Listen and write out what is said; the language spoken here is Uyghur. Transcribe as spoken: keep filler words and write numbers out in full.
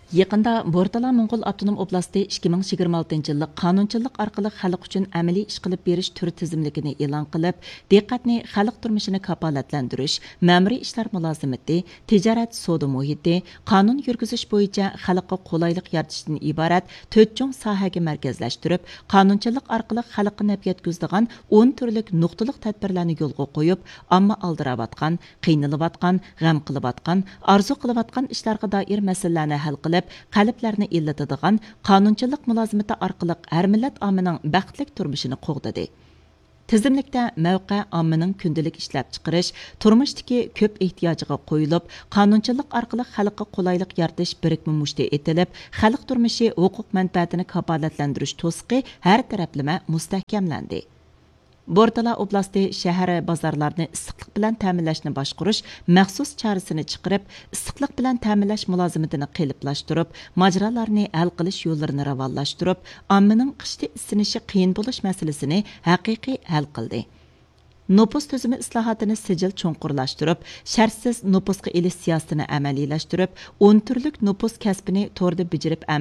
يېقىندا بورتالا موڭغۇل ئاپتونوم ئوبلاستى ئىككى مىڭ يىگىرمە ئالتىنچى يىللىق قانۇنچىلىق ئارقىلىق خەلق ئۈچۈن ئەمەلىي ئىش قىلىپ بېرىش تۈر تىزىملىكىنى ئېلان قىلىپ، دىققەتنى خەلق تۇرمۇشىنى كاپالەتلەندۈرۈش، مەمۇرىي ئىشلار مۇلازىمىتى، تىجارەت سودا مۇھىتى، قانۇن يۈرگۈزۈش بويىچە خەلققە قولايلىق يارىتىشتىن ئىبارەت تۆت چوڭ ساھەگە مەركەزلەشتۈرۈپ، قانۇنچىلىق ئارقىلىق خەلققە نەپ يەتكۈزىدىغان ئون تۈرلۈك نۇقتىلىق تەدبىرلەرنى يولغا قويۇپ، ئامما ئالدىراۋاتقان، قىينىلىۋاتقان، غەم قىلىۋاتقان، ئارزۇ قىلىۋاتقان ئىشلارغا دائىر مەسىلىلەرنى ھەل قىلىپ، قەلبلەرنى ئىللىتىدىغان قانۇنچىلىق مۇلازىمىتى ئارقىلىق ھەر مىللەت ئاممىنىڭ بەختلىك تۇرمۇشىنى قوغدىدى. تىزىملىكتە مەۋقە ئاممىنىڭ كۈندىلىك ئىشلەپچىقىرىش، تۇرمۇشتىكى كۆپ ئېھتىياجىغا قويۇلۇپ، قانۇنچىلىق ئارقىلىق خەلققە قولايلىق يارىتىش بىرىكمە مۇشتى ئېتىلىپ، خەلق تۇرمۇشى ھوقۇق مەنپەئەتىنى كاپالەتلەندۈرۈش توسۇقى ھەر تەرەپلىمە مۇستەھكەملەندى. بورتالا ئوبلاستى شەھەر، بازارلارنى ئىسسىقلىق بىلەن تەمىنلەشنى باشقۇرۇش مەخسۇس چارىسىنى چىقىرىپ، ئىسسىقلىق بىلەن تەمىنلەش مۇلازىمىتىنى قېلىپلاشتۇرۇپ، ماجىرالارنى ھەل قىلىش يوللىرىنى راۋانلاشتۇرۇپ، ئاممىنىڭ قىشتا ئىسسىنىشى قىيىن بولۇش مەسىلىسىنى ھەقىقىي ھەل قىلدى. نوپۇس تۈزۈمى ئىسلاھاتىنى سىجىل چوڭقۇرلاشتۇرۇپ، شەرتسىز نوپۇسقا ئېلىش سىياسىتىنى ئەمەلىيلەشتۈرۈپ، ئون تۈرلۈك نوپۇس كەسپىنى توردا بېجىرىپ ئەمەلىيلەشتۈرۈپ،